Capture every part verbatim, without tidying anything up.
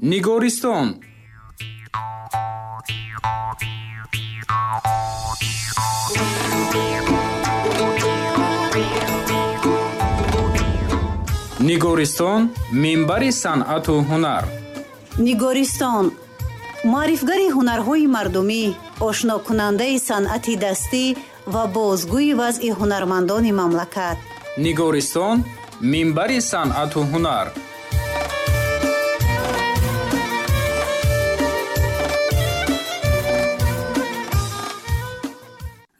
Нигористон. Нигористон минбари санъату ҳунар. Нигористон муаррифгари ҳунарҳои мардумӣ, ошнокунандаи санъати дастӣ ва бозгӯи вазъи ҳунармандони мамлакат. Нигористон минбари санъату ҳунар.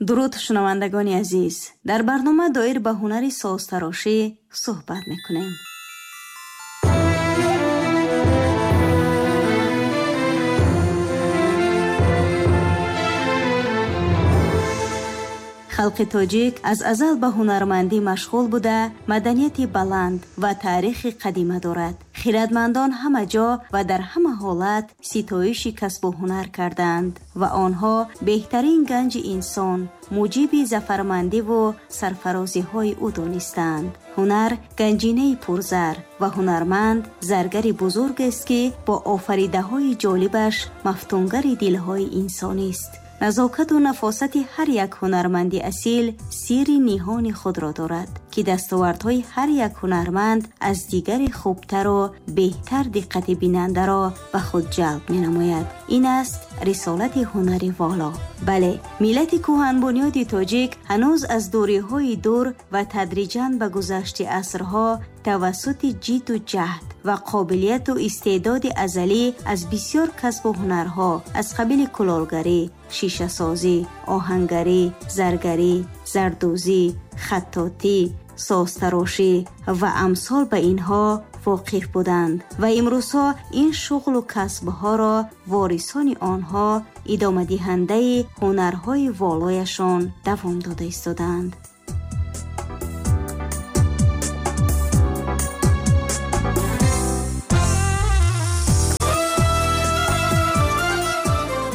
Дуруд, шунавандагони азиз! Дар барнома доир ба ҳунари созтарошӣ суҳбат мекунем. Халқи тоҷик аз азал ба ҳунармандӣ машғул буда, маданияти баланд ва таърихи қадима дорад. Хирадмандон ҳама ҷо ва дар ҳама ҳолат ситоиши касбу ҳунар кардаанд ва онҳо беҳтарин ганҷи инсон, муҷиби зафармандиву сарфарозиҳои ӯ донистаанд. Ҳунар ганҷинаи пурзар ва ҳунарманд заргари бузургест, ки бо офаридаҳои ҷолибаш мафтунгари дилҳои инсонист. Назокату нафосати ҳар як ҳунарманди асил сирри ниҳони худро дорад, ки дастовардҳои ҳар як ҳунарманд аз дигари хубтару беҳтар диққати бинандаро ба худ ҷалб менамояд. Ин аст рисолати ҳунари воло. Бале, миллати кӯҳанбунёди тоҷик ҳанӯз аз дуриҳои дур ва тадриҷан ба гузашти асрҳо тавассути ҷидду ҷаҳд ва қобилияту истеъдоди азалӣ аз бисёр касбу ҳунарҳо аз қабили кулолгарӣ, шишасозӣ, оҳангарӣ, заргарӣ, зардӯзӣ, хаттотӣ, созтарошӣ ва амсол ба инҳо воқиф буданд ва имрӯзҳо ин шуғлу касбҳоро ворисони онҳо идомадиҳандаи ҳунарҳои волояшон давом дода истодаанд.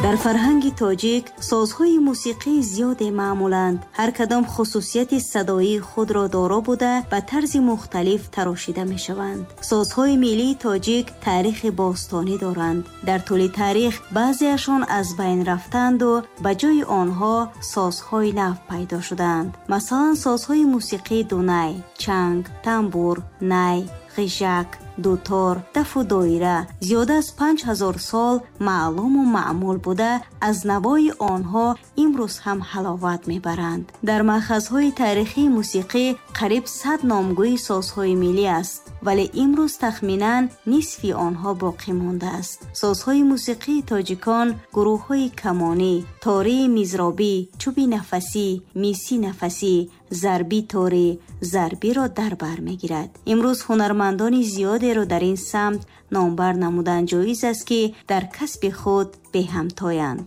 Дар фарҳанги тоҷик созҳои мусиқии зиёде маъмуланд. Ҳар кадом хусусияти садоии худро доро буда, ба тарзи мухталиф тарошида мешаванд. Созҳои миллии тоҷик таърихи бостонӣ доранд. Дар тӯли таърих баъзеашон аз байн рафтанду ба ҷои онҳо созҳои нав пайдо шуданд. Масалан, созҳои мусиқии дунай, чанг, тамбур, най, ғижак, дутор, дафу доира зиёда аз панҷ ҳазор сол маълуму маъмул буда, аз навои онҳо имрӯз ҳам ҳаловат мебаранд. Дар маъхазҳои таърихии мусиқӣ қариб сад номгӯи созҳои миллӣ аст, вале имрӯз тахминан нисфи онҳо боқӣ мондааст. Созҳои мусиқии тоҷикон гурӯҳҳои камонӣ, тории мизробӣ, чӯби нафасӣ, мисӣ нафасӣ, зарби торӣ, зарбиро дар бар мегирад. Имрӯз ҳунармандони зиёдеро дар ин самт номбар намудан ҷоиз аст, ки дар касби худ беҳамтоянд.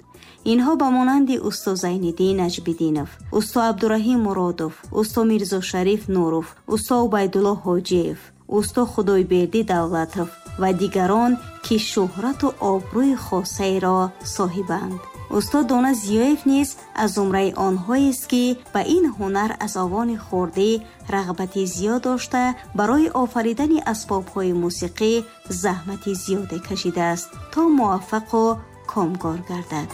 Инҳо ба монанди усто Зайниддин Наҷмиддинов, усто Абдураҳим Муродов, усто Мирзошариф Нуров, усто Убайдулло Ҳоҷиев, усто Худойбердӣ Давлатов ва дигарон, ки шӯҳрату обрӯи хосаеро соҳибанд. Устод Дона Зиёев низ аз зумраи онҳоест, ки ба ин ҳунар аз овони хурдӣ рағбати зиёд дошта, барои офаридани асбобҳои мусиқӣ заҳмати зиёде кашидааст, то муваффақу комгор гардад.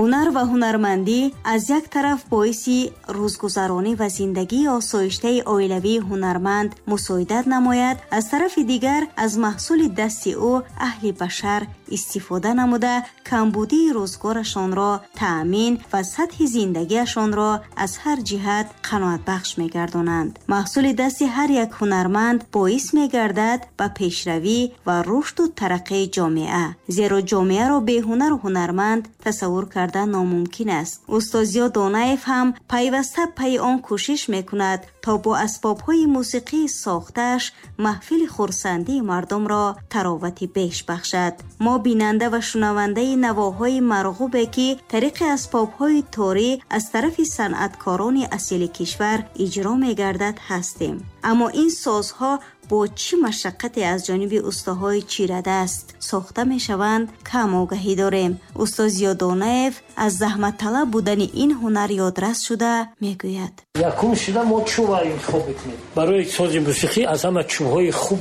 Ҳунар ва ҳунармандӣ аз як тараф боиси рӯзгузаронӣ ва зиндагии осоиштаи оилавии ҳунарманд мусоидат намояд, аз тарафи дигар аз маҳсули дасти ӯ аҳли башар истифода намуда, камбудии рӯзгорашонро таъмин ва сатҳи зиндагиашонро аз ҳар ҷиҳат қаноатбахш мегардонанд. Маҳсули дасти ҳар як ҳунарманд боис мегардад ба пешравӣ ва рушду тараққии ҷомеа, зеро ҷомеаро беҳунару ҳунарманд тасаввур кардан номумкин аст. Устод Зиё Донаев ҳам пайваста пайи он кӯшиш мекунад, то бо асбобҳои мусиқии сохтааш маҳфили хурсандии мардумро таровати беш бахшад. Мо бинанда ва шунавандаи навоҳои марғубе, ки тариқи асбобҳои торӣ аз тарафи санъаткорони асили кишвар иҷро мегардад, ҳастем. Аммо ин созҳо бо чӣ машаққате аз ҷониби устоҳои чирадаст сохта мешаванд, кам огаҳӣ дорем. Усто Зиёдонаев аз заҳматталаб будани ин ҳунар ёдрас шуда мегӯяд: якум шуда мо чӯба интихоб мекунем. Барои сози мусиқӣ аз ҳама чӯбҳои хуб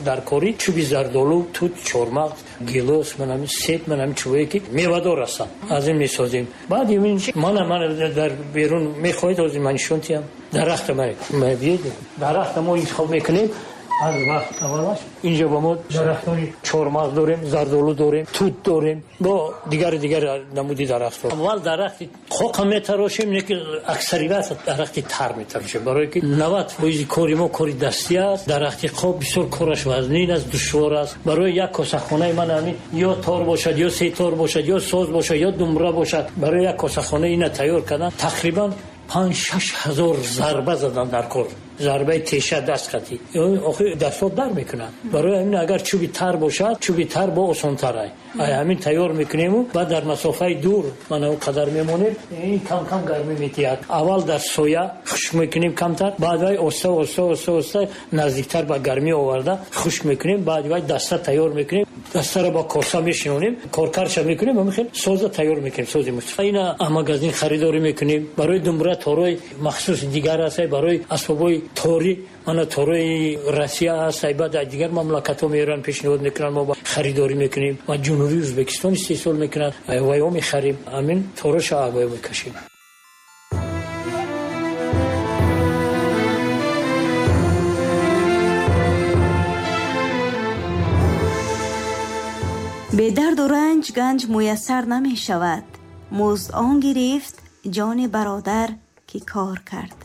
дар корӣ чӯби зардолу, тут, чормағз, гилос, манами себ, манами чӯбҳое ки мевадор ҳастанд, аз ин месозем. Баъд мана мана дар берун мехоҳед ҳозир ман нишон диҳам. Дарахта биед, дарахта мо интихоб мекунем аз вақт аввалаш. Инҷо ба мо дарахтони чормағз дорем, зардолу дорем, тут дорем, бо дигар дигар намуди дарахтҳо. Аввал дарахти қоқа метарошем, не ки аксарият дарахти тар метарошем, барое ки навад фоизи кори мо кори дастӣ аст. Дарахти қоқ бисёр кораш вазнин аст, душвор аст. Барои як косахонаи ман ҳамин ё тор бошад, ё се тор бошад, ё соз бошад, ё думбра бошад, барои як косахона ина тайёр кардан тақрибан панҷ шаш ҳазор зарба задан дар кор. Зарбаи теша даст қатӣ охи дастҳо дар мекунанд. Барои ҳамин агар чӯби тар бошад, чӯби тар бо осонтар ай. Ай ҳамин тайёр мекунему, баъд дар масофаи дур мана он қадар мемонем, ин кам кам гармӣ метиҳад. Аввал дар соя хушк мекунем камтар, баъд вай оста оста оста оста наздиктар ба гармӣ оварда хушк мекунем, баъд вай даста тайёр мекунем, дастаро ба коса мешинонем, коркарша мекунем, ҳамин хел соза тайёр мекунем, сози мусиқӣ. Ина магазин харидорӣ мекунем. Барои думбра торои махсуси дигар аст, барои асбобҳои тори мана торои Россия аст, баъд аз дигар мамлакатҳо меоранд, пешниҳод мекунанд, мо харидорӣ мекунем ва Ҷумҳурии Ӯзбекистон истеҳсол мекунанд, вайҳо мехарем, ҳамин тороша вайҳо мекашем. Бедарду ранҷ ганҷ муяссар намешавад. Музд он гирифт ҷони бародар ки кор кард.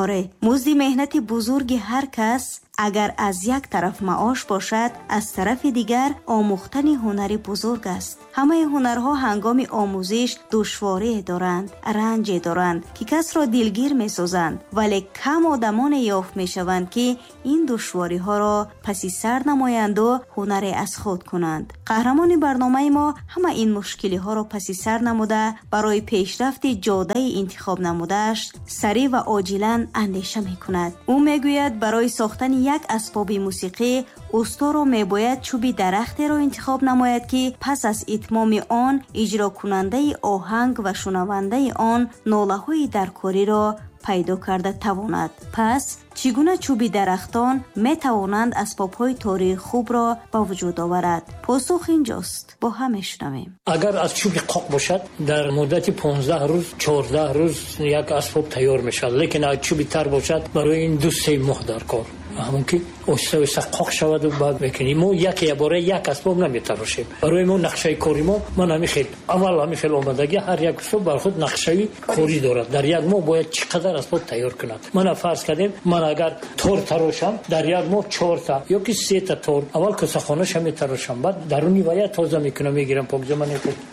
Оре, музди меҳнати бузурги ҳар кас агар аз як тараф маош бошад, аз тарафи дигар омӯхтани ҳунари бузург аст. Ҳамаи ҳунарҳо ҳангоми омӯзиш душворие доранд, ранҷе доранд, ки касро дилгир месозанд, вале кам одамоне ёфт мешаванд, ки ин душвориҳоро паси сар намоянду ҳунаре аз худ кунанд. Қаҳрамони барномаи мо ҳама ин мушкилиҳоро паси сар намуда, барои пешрафти ҷодаи интихоб намудааш сариъ ва оҷилан андеша мекунад. Ӯ мегӯяд, барои сохтани як асбоби мусиқӣ усторо мебояд чӯби дарахтеро интихоб намояд, ки пас аз итмоми он иҷрокунандаи оҳанг ва шунавандаи он нолаҳои даркориро пайдо карда тавонад. Пас чӣ гуна чӯби дарахтон метавонанд асбобҳои тории хубро ба вуҷуд оварад? Посух инҷост, бо ҳам мешунавем. Агар аз чӯби қоқ бошад, дар муддати понздаҳ рӯз, чордаҳ рӯз як асбоб тайёр мешавад. Лекин агар чӯби тар бошад, барои ин ду се моҳ дар кор. Ҳамон ки оҳиста оҳиста қоқ шаваду баъд мекунем. Мо яке бора як асбоб наметарошем. Барои мо нақшаи кори мо ман ҳамин хел аввал ҳамин хел омадагӣ, ҳар як усто бар худ нақшаи корӣ дорад. Дар як моҳ бояд чӣ қадар асбоб тайёр кунад. Мана фарз кардем, ман агар тор тарошам, дар як моҳ чорта ё ки сета тор аввал косахонаша метарошам, баъд даруни вая тоза мекунам, мегирам, покиза ман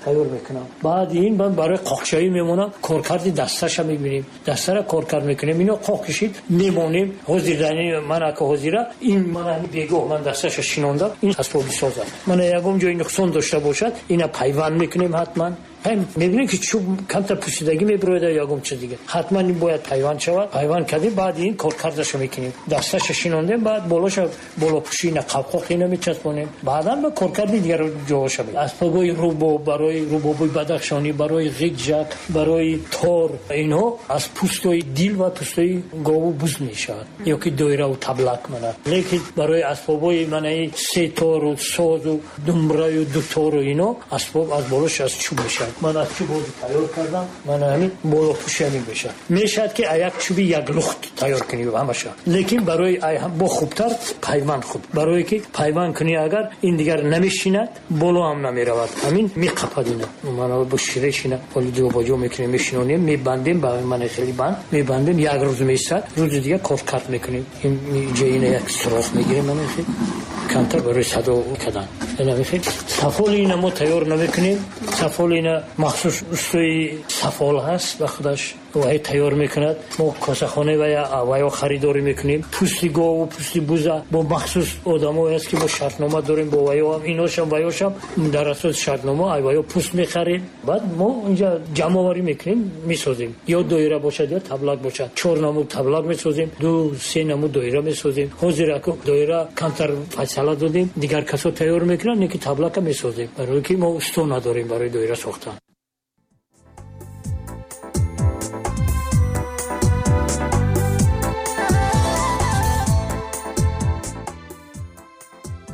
тайёр мекунам. Баъд ин ман барои қоқшавӣ мемонам, коркарди дасташа мебинем, дастара коркард мекунем, ино қоқ кишид мемонем. Ҳозир дар ман ака ҳозира ин мана бегоҳ ман дасташа шинондам, ин асбоби соз аст. Мана ягон ҷои нуқсон дошта бошад, ина пайванд мекунем ҳатман. Мебинем ки чӯб камтар пӯсидагӣ мебирояд ё ягон чиз дигар, ҳатман ин бояд пайванд шавад. Пайванд кардем, баъд ин коркардаша мекунем, дасташа шинондем, баъд болоша болопӯши ина қавқоқ ина мечаспонем, баъдан ба коркарди дигар ҷоҳоша. Асбобҳои рубоб, барои рубобои бадахшонӣ, барои ғиҷак, барои тор, инҳо аз пӯстои дил ва пӯстои гову буз мешавад ё ки доираву таблак мана. Лекин барои асбобҳои манаи сетору созу думбраю дутору ино асбоб аз болош аз чӯб мешавад. Ман аз чӯб ҳозир тайёр кардам, ман ҳамин болопӯши ҳамин мешавад. Мешавад ки як чӯби як лухт тайёр кунӣ ҳамаша, лекин барои бо хубтар пайванд хуб, барое ки пайванд кунӣ агар ин дигар намешинад, боло ҳам намеравад, ҳамин меқапад ина. Мана бо ширешина ҳоли ҷобаҷо мекунем, мешинонем, мебандем ба мана хеле банд мебандем, як рӯз меистад, рӯзи дигар коркард мекунем. Ин ҷоина як сурох мегирем, мана хеле камтар барои садо кардан. Сафоли ина мо тайёр намекунем. Сафоли ина махсус устои сафол ҳаст, ба худаш вай тайёр мекунад. Мо косахона ва вайо харидорӣ мекунем. Пӯсти гову пӯсти буза бо махсус одамое ҳаст, ки мо шартнома дорем бо вайо, иношам вайошам дар асоси шартнома ай вайо пӯст мехарем. Баъд мо инҷа ҷамъоварӣ мекунем, месозем. Ё доира бошад, ё таблак бошад. Чор намуд таблак месозем, ду се намуд доира месозем. Ҳозир аку доира камтар фасала додем, дигар касо тайёр мекунанд, не ки таблака месозем, барои ки мо усто надорем барои доира сохтан.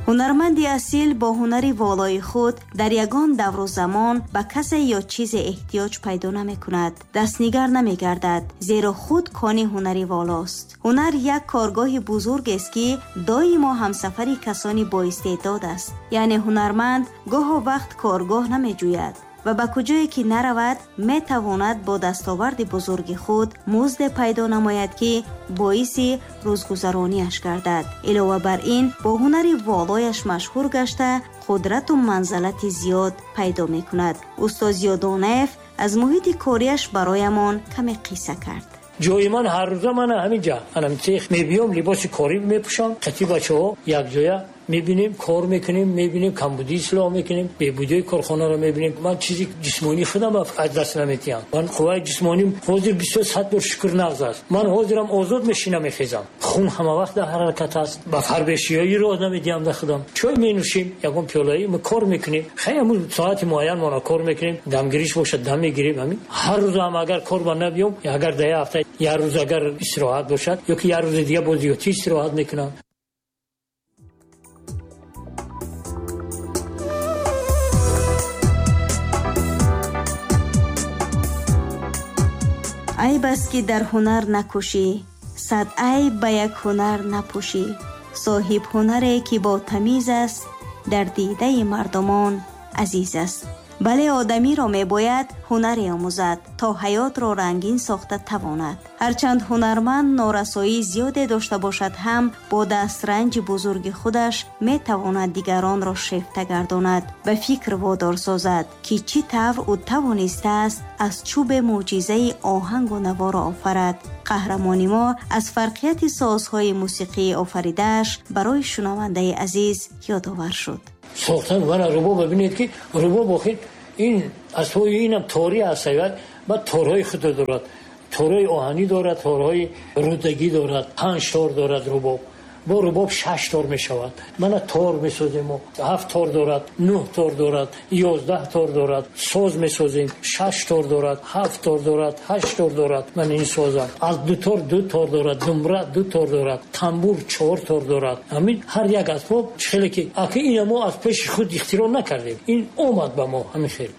Ҳунарманди асил бо ҳунари волои худ дар ягон давру замон ба касе ё чизе эҳтиёҷ пайдо намекунад, дастнигар намегардад, зеро худ кони ҳунари волост. Ҳунар як коргоҳи бузургест, ки доимо ҳамсафари касони боистеъдод аст. Яъне ҳунарманд гоҳо вақт коргоҳ намеҷӯяд ва ба куҷое ки наравад, метавонад бо дастоварди бузурги худ музде пайдо намояд, ки боиси рӯзгузарониаш гардад. Илова бар ин, бо ҳунари волояш машҳур гашта, қудрату манзалати зиёд пайдо мекунад. Устод Зиёдонаев аз муҳити кориаш бароямон каме қисса кард. Ҷои ман ҳар рӯза мана ҳаминҷа, анам цех мебиём, либоси корӣ мепӯшам, қати бачаҳо якҷоя мебинем, кор мекунем, мебинем, камбудӣ ислоҳ мекунем, бебудиҳои корхонаро мебинем. Ман чизи ҷисмонии худам аз даст наметиҳам. Ман қувваи ҷисмоним ҳозир бисёр сад бор шукр нағз аст. Ман ҳозирам озод мешинам, мехезам. Хун ҳама вақт дар ҳаракат аст. Ба фарбешиёӣ роҳ намедиҳам дар худам. Чой менӯшем, ягон пиёлаи мо кор мекунем. Хай ҳамун соати муайян мона кор мекунем, дамгириш бошад дам мегирем. Ҳамин ҳар рӯз ҳам агар кор ба набиём, агар дар як ҳафта як рӯз агар истироҳат бошад, ё ки як рӯзи дига боз зиёдтӣ истироҳат мекунам. Айб аст, ки дар ҳунар накӯшӣ, сад айб ба як ҳунар напӯшӣ. Соҳиб ҳунаре, ки бо тамиз аст, дар дидаи мардумон азиз аст. Бале, одамиро мебояд ҳунаре омӯзад, то ҳаётро рангин сохта тавонад. Ҳарчанд ҳунарманд норасоии зиёде дошта бошад ҳам, бо дастранҷи бузурги худаш метавонад дигаронро шефта гардонад, ба фикр водор созад, ки чӣ тавр ӯ тавонистааст аз чӯбе мӯъҷизаи оҳангу наворо офарад. Қаҳрамони мо аз фарқияти созҳои мусиқии офаридааш барои шунавандаи азиз ёдовар шуд. Сохтан мана рубоб бибинед, ки рубоб охир ин асбоби инам торӣ аст, баъд торҳои худро дорад, торҳои оҳанӣ дорад, торҳои рудагӣ дорад, панҷ тор дорад рубоб. Бо рубоб шаш тор мешавад. Мана тор месозем мо, ҳафт тор дорад, нӯҳ тор дорад, ёздаҳ тор дорад. Соз месозем, шаш тор дорад, ҳафт тор дорад, ҳашт тор дорад. Ман ин созам аз ду тор ду тор дорад, думра ду тор дорад, тамбур чор тор дорад. Ҳамин ҳар як асбоб хеле ки аки ина мо аз пеши худ ихтироъ накардем, ин омад ба мо ҳамин хел.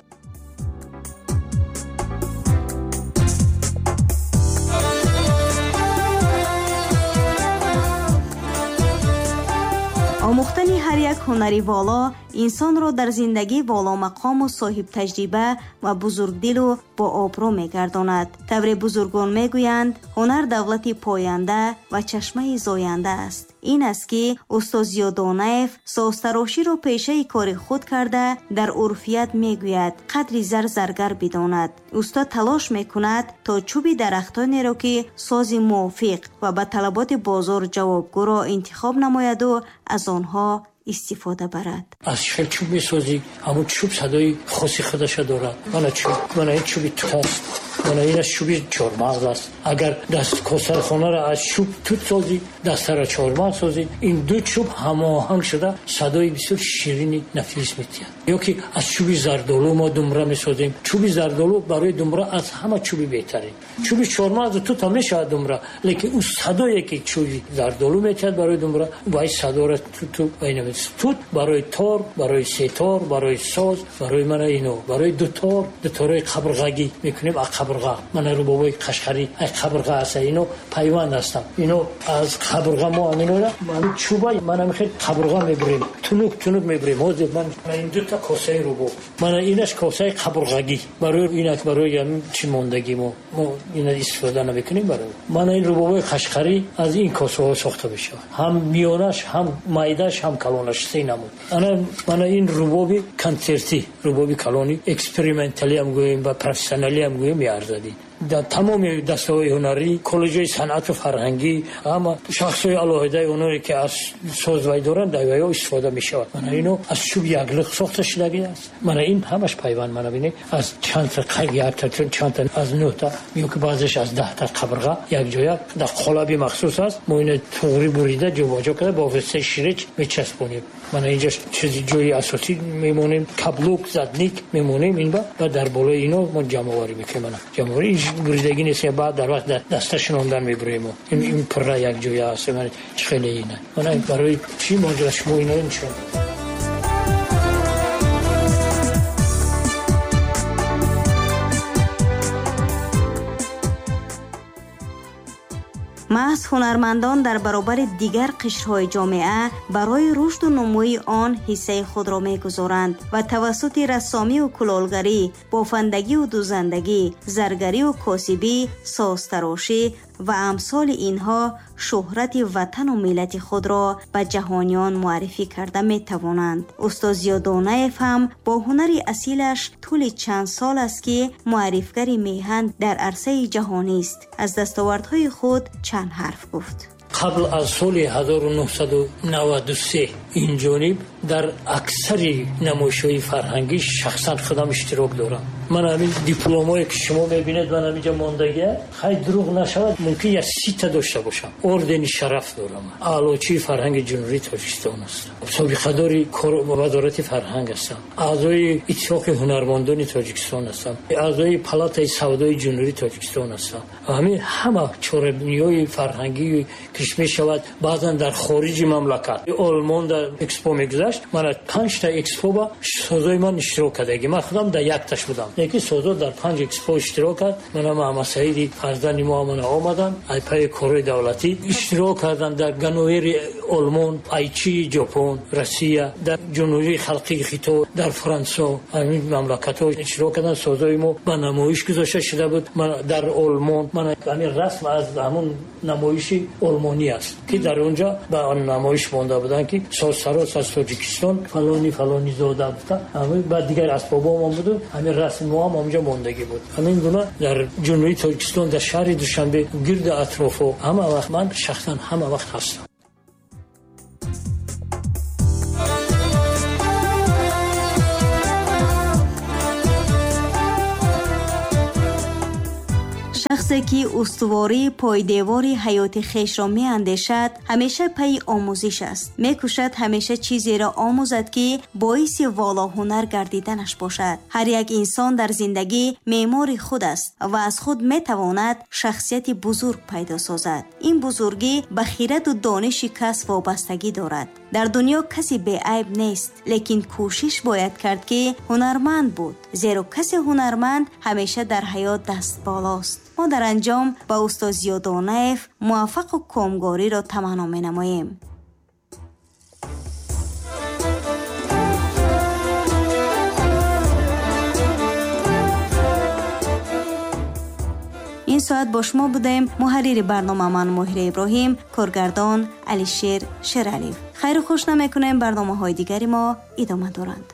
Омӯхтани ҳар як ҳунари воло инсонро дар зиндагӣ воломақому соҳибтаҷриба ва бузургдилу бообрӯ мегардонад. Тавре бузургон мегӯянд, ҳунар давлати поянда ва чашмаи зоянда аст. Ин аст, ки устод Зиёдонаев созтароширо пешаи кори худ карда, дар урфият мегӯяд қадри зар заргар бидонад. Устод талош мекунад, то чӯби дарахтонеро, ки сози мувофиқ ва ба талаботи бозор ҷавобгӯро интихоб намояду аз онҳо истифода барад. Аз хел чӯб месозӣ, ҳамун чӯб садои хоси худаша дорад. Мана чӯб, мана ин чӯби тут аст, мана ин аз чӯби чормағз аст. Агар даст косархонаро аз чӯб тут созӣ, дастаро чормағз созӣ, ин ду чӯб ҳамоҳанг шуда садои бисёр ширини нафис метиҳад. Ё ки аз чӯби зардолу мо думра месозем. Чӯби зардолу барои думра аз ҳама чӯби беҳтарин. Чӯби чормағзу тут ҳам мешавад думра, лекин ӯ садое ки чӯби зардолу метиҳад барои думра, вай садоро туту вай намед. Тут барои тор, барои сетор, барои соз, барои мана ино, барои дутор, дуторҳои қабрғагӣ мекунем аз қабрға. Мана рубобои қашқарӣ аз қабрға аст, ино пайванд ҳастанд. Ино аз қабрға мо ҳаминора ҳамин чӯба мана мехел қабрға мебурем, тунук тунук мебурем. Ҳозир ман ин дута косаи рубоб, мана инаш косаи қабрғагӣ, барои инак барои ҳамин чӣ мондагӣ мо мо ина истифода намекунем. Барои мана ин рубобои қашқарӣ аз ин косаҳо сохта мешавад, ҳам миёнаш, ҳам майдаш, ҳам калонаш. донаш се намуд. Ана мана ин рубоби консертӣ, рубоби калони эксперименталӣ ҳам гӯем ва профессионалӣ ҳам гӯем меарзадӣ. Дар тамоми дастаҳои ҳунарӣ, коллеҷҳои санъату фарҳангӣ, ҳама шахсҳои алоҳидаи оное ки аз соз вай доранд, дар вайҳо истифода мешавад. Мана ино аз чӯб яклиқ сохта шудагӣ аст. Мана ин ҳамаш пайванд, мана бинед, аз чандта якта, чандта аз нӯҳта ё ки баъзеш аз даҳта қабрға якҷоя дар қолаби махсус аст. Мо ино туғри бурида ҷобаҷо карда бо воситаи ширич мечаспонем. Мана инҷа чизи ҷои асосӣ мемонем, каблук, задник мемонем ин ба ва дар болои ино мо ҷамъоварӣ мекунем. Мана ҷамъоварӣ буридагӣ нест, баъд дар вақт даста шинондан мебурем. Ин ин пурра якҷоя аст. Мана чӣ хеле ина. Мана барои чӣ мо шумо ино нишон. Маҳз ҳунармандон дар баробари дигар қишрҳои ҷомеа барои рушду нумӯи он ҳиссаи худро мегузоранд ва тавассути рассомию кулолгарӣ, бофандагию дузандагӣ, заргарию косибӣ, созтарошӣ ва амсоли инҳо шӯҳрати ватану миллати худро ба ҷаҳониён муаррифӣ карда метавонанд. Устод Зиёдонаев ҳам бо ҳунари асилаш тӯли чанд сол аст ки муаррифгари меҳан дар арсаи ҷаҳонист. Аз дастовардҳои худ чанд ҳарф гуфт. Қабл аз соли ҳазору нӯҳсаду наваду се ин ҷониб дар аксари намоишҳои фарҳангӣ шахсан худам иштирок дорам. Ман ҳамин дипломое ки шумо мебинед, ман ҳаминҷа мондагия, хай дурӯғ нашавад, мумкин як сита дошта бошам. Ордени шараф дорам, аълочии фарҳанги Ҷумҳурии Тоҷикистон ҳастам, собиқадори вазорати фарҳанг ҳастам, аъзои иттифоқи ҳунармандони Тоҷикистон ҳастам, аъзои палатаи савдои Ҷумҳурии Тоҷикистон ҳастам. Ҳамин ҳама чорабиниҳои фарҳангӣ ки мешавад баъзан дар хориҷи мамлакат, Олмон дар экспо мегузашт, ман панҷта экспо ба созои ман иштирок кардагӣ. Ман худам дар якташ будам, лекин созо дар панҷ экспо иштирок кард. Мана Маҳамадсаиди фарзанди мо ҳамона омаданд, айпаи корҳои давлатӣ иштирок карданд дар Ганновери Олмон, Айчии Ҷопон, Россия, дар Ҷумҳурии Халқии Хитой, дар Франсо, ҳамин мамлакатҳо иштирок карданд. Созои мо ба намоиш гузошта шуда буд дар Олмон. Ман ҳамин расм аз ҳамон намоиши олмонӣ аст ки дар онҷо ба намоиш монда буданд ки созсароз аз Тоҷикистон фалони фалони зода гуфта, баъд дигар асбобҳоам буду ҳамин расми мо ҳам онҷо мондагӣ буд. Ҳамин гуна дар Ҷумҳурии Тоҷикистон, дар шаҳри Душанбе, гирду атрофҳо ҳама вақт ман шахсан ҳама вақт ҳастам. Шахсе ки устувории пойдевори ҳаёти хешро меандешад, ҳамеша пайи омӯзиш аст. Мекӯшад ҳамеша чизеро омӯзад, ки боиси волоҳунар гардиданаш бошад. Ҳар як инсон дар зиндагӣ меъмори худ аст ва аз худ метавонад шахсияти бузург пайдо созад. Ин бузургӣ ба хираду дониши кас вобастагӣ дорад. Дар дунё касе беайб нест, лекин кӯшиш бояд кард, ки ҳунарманд буд, зеро касе ҳунарманд ҳамеша дар ҳаёт дастболост. Мо дар анҷом ба устод Зиёдонаев муваффақу комгориро таманно менамоем. Ин соат бо шумо будем. Муҳаррири барнома ман Моҳира Иброҳим, коргардон Алишер Шералиев. Хайру хуш намекунем, барномаҳои дигари мо идома доранд.